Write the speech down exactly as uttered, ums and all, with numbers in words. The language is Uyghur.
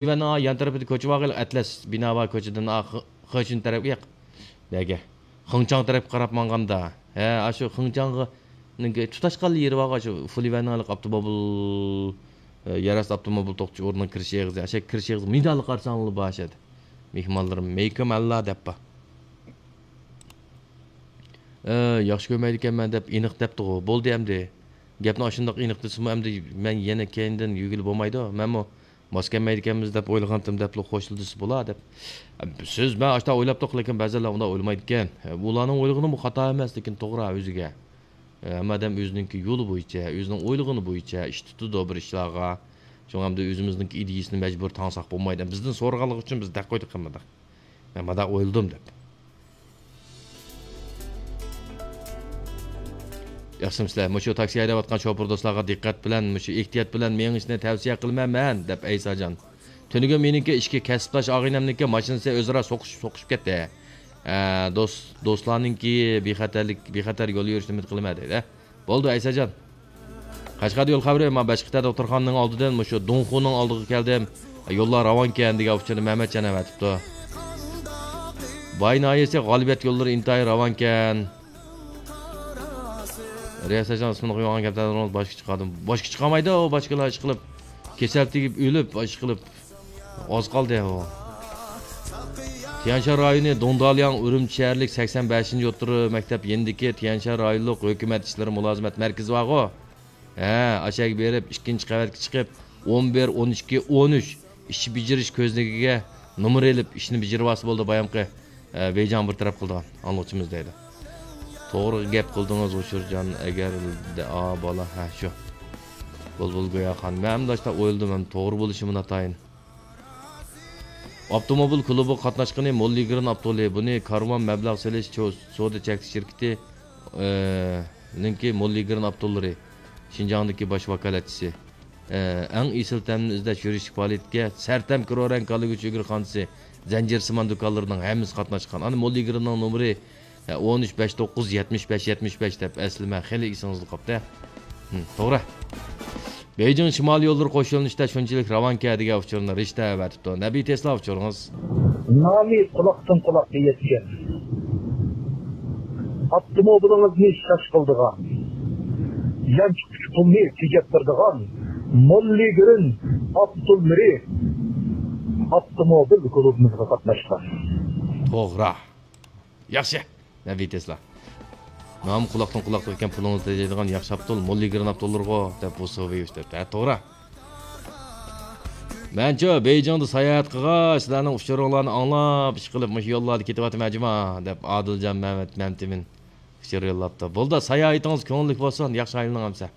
يۈەننىڭ يان تەرىپىدە كوچا بارغىلى، ئەتلەس بىنا بار كوچىدىن، ئا، خې-، خېچۈن تەرەپ ياق. نەگە؟ خېڭچاڭ تەرەپكە قاراپ ماڭغاندا. ھە، ئاشۇ خېڭچاڭغا نىڭكى تۇتاشقانلا يېرى بارغۇ، ئاشۇ فۇليۈەننىڭ ھېلىقى ئاپتوموبىل، ئە، يەر ئاستى ئاپتوموبىل توختىتىش ئورنىنىڭ كىرىش ئېغىزى. ئاشۇ كىرىش ئېغىزى مىدانلىق قارىساڭلا بار ئاشۇ يەردە. مېھمانلىرىم مەيكۇم ئەللا دەپ بار. ئە، ياخشى كۆرمەيدىكەنمەن دەپ ئېنىق دەپتىغۇ. بولدى ئەمدى. گەپنى ئاشۇنداق ئېنىق دېسىمۇ ئەمدى مەن يەنە كەينىدىن يۈگۈرگىلى بولمايدۇ. مەنمۇ ماس كەلمەيدىكەنمىز دەپ ئويلىغانتىم دەپلا خوشلىدىسى بولا دەپ. سىز، مەن ئاشۇنداق ئويلاپتۇق، لېكىن بەزىلەر ئۇنداق ئويلىمايدىكەن. ئۇلارنىڭ ئويلىغىنىمۇ خاتا ئەمەس، لېكىن توغرا ئۆزىگە. ھەممە ئادەم ئۆزىنىڭكى يولى بويىچە، ئۆزىنىڭ ئويلىغىنى بويىچە ئىش تۇتىدۇ بىر ئىشلارغا. شۇڭا ئەمدى ئۆزىمىزنىڭكى ئىدىيىسىنى مەجبۇر تاڭساق بولمايدۇ. بىزدىن سورىغانلىقى ئۈچۈن بىز دەپ قويدۇق ھەممىداق. مەن مۇنداق ئويلىدىم دەپ. ياخشىمۇسىلەر؟ مۇشۇ تاكسى ھەيدەۋاتقان شوپۇر دوستلارغا دىققەت بىلەن، مۇشۇ ئېھتىيات بىلەن مېڭىشنى تەۋسىيە قىلىمەن مەن، دەپ ئەيساجان. تۈنۈگۈن مېنىڭكى ئىككى كەسىپداش ئاغىنەمنىڭكى ماشىنىسى ئۆزئارا سوقۇشۇپ، سوقۇشۇپ كەتتى. ئە، دوست، دوستلارنىڭكى بىخەتەرلىك، بىخەتەر يول يۈرۈشنى ئۈمىد قىلىمەن دەيدۇ. بولدى، ئەيساجان. قەشقەردە يول خەۋىرى، مەن بەشقىتە دوختۇرخانىنىڭ ئالدىدىن مۇشۇ دۇڭخۇنىڭ ئالدىغا كەلدىم. يوللار راۋانكەن دېگەن ئۇچۇرنى مەمەتجان ئەۋەتىپتۇ. باي ناھىيەسى غالىبىيەت يوللىرى ئىنتايىن راۋانكەن. رىياسەتجان ئىسمىنى قويغان گەپلەردىن باشقا چىقاردىم. باشقا چىقالمايدۇ، ئۇ باشقىلار ئىشقىلىپ. كېسەل تېگىپ ئۆلۈپ، ئىشقىلىپ. ئاز قالدى ئۇ. تيەنشان رايونى دۇڭدالياڭ ئۈرۈمچى شەھەرلىك سەكسەن بەشىنچى ئوتتۇرا مەكتەپ يېنىدىكى تيەنشان رايونلۇق ھۆكۈمەت ئىشلىرى مۇلازىمەت مەركىزى بارغۇ. ھە، ئاشەگە بېرىپ، ئىككىنچى قەۋەتكە چىقىپ، ئون بىر، ئون ئىككى، ئون ئۈچ ئىش بېجىرىش كۆزنىكىگە نومۇر ئېلىپ، ئىشنى بېجىرىۋالسا بولدى، بايامقى، ئە، بېيجاڭ بىر تەرەپ قىلىدىغان ئاڭلىغۇچىمىز دەيدۇ. توغرا گەپ قىلدىڭىز، غۇچۇرجان، ئەگەر دە-، ئا، بالا، ھە، شۇ. بۇلبۇل گوياخان. مەن ئەمدى ئاشۇنداق ئويلىدىم، ھەم توغرا بولۇشى ناتايىن. ئاپتوموبىل كۇلۇبىغا قاتناشقىنى موللىگرېن ئاپتولى، بۇنى كارۋان مەبلەغ سېلىش چو-، سودا چەكلىك شىركىتى، ئى، نىڭكى موللىگرېن ئاپتوللىرى، شىنجاڭدىكى باش ۋاكالەتچىسى. ئى، ئەڭ ئېسىل تەمنى ئىزدەش يۈرۈشلۈك پائالىيەتكە سەرتەم كرورەڭ كاللىگۈچى ئۆگرىخانىسى، زەنجىرسىمان دۇكانلىرىنىڭ ھەممىسى قاتناشقان. ئانا موللىگرېننىڭ نومۇرى ھە، ئون ئۈچ بەش توققۇز يەتمىش بەش يەتمىش بەش دەپ ئەسلىمە خېلى ئېسىڭىزدە قاپتۇ. ھىم، توغرا. بېيجىڭ شىمالىي يوللىرى قوش يۆنىلىشتە شۇنچىلىك راۋانكەن دېگەن ئۇچۇرنى رىشتە ئەۋەتىپتۇ. نەبىي تېسلا ئۇچۇرىڭىز. نامى قۇلاقتىن قۇلاققا يەتكەن، ئاپتوموبىلىڭىزنى شاش قىلىدىغان، يانچۇقتىكى پۇلنى تېجەپ بېرىدىغان موللىگرېن ئاپتوللىرى ئاپتوموبىل كۇلۇبىمىزغا قاتناشقان. توغرا. ياخشى، نەبىي تېسلا. نام قۇلاقتىن قۇلاققا يەتكەن پۇلىڭىزنى تېجەيدىغان ياخشى ئاپتول، موللىگرېن ئاپتوللىرىغۇ، دەپ بۇ سوۋېيۋىچ دەپتۇ. ھە، توغرا. مەنچۇ بېيجىڭدا ساياھەت قىلغاچ، سىلەرنىڭ ئۇچۇرۇڭلارنى ئاڭلاپ، ئىشقىلىپ، مۇشۇ يوللاردا كېتىۋاتىمەن جۇما، دەپ ئادىلجان مەمەت مەمتىمىن ئۇچۇر يوللاپتۇ. بولدى، ساياھىتىڭىز كۆڭۈللۈك بولسۇن، ياخشى ئايلىنىڭ ئەمسە.